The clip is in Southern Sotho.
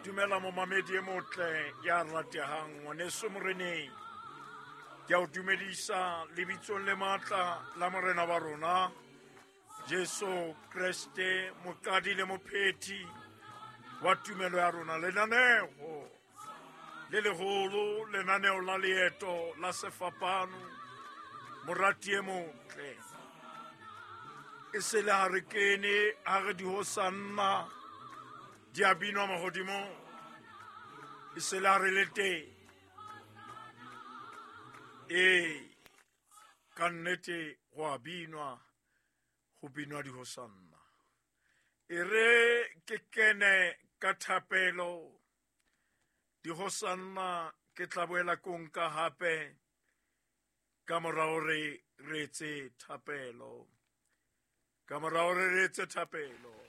Dumela momamedi e motle ya ratehang, ngwaneso moreneng. Ke a o dumedisa lebitsong le matla la morena wa rona Jesu Kreste, moqadi le mophethi wa tumelo ya rona. Lenaneo le leholo, lenaneo la leeto la sefapano, morati e motle. E se le ha re kene, ha re dihosanna di a binwa mahodimong, e se le ha re le teng. Ee, ka nnete go a binwa, go binwa dihosanna. E re ke kene ka thapelo, dihosanna ke tla boela ko nka hape ka mora hore re etse thapelo. Ka mora hore re etse thapelo.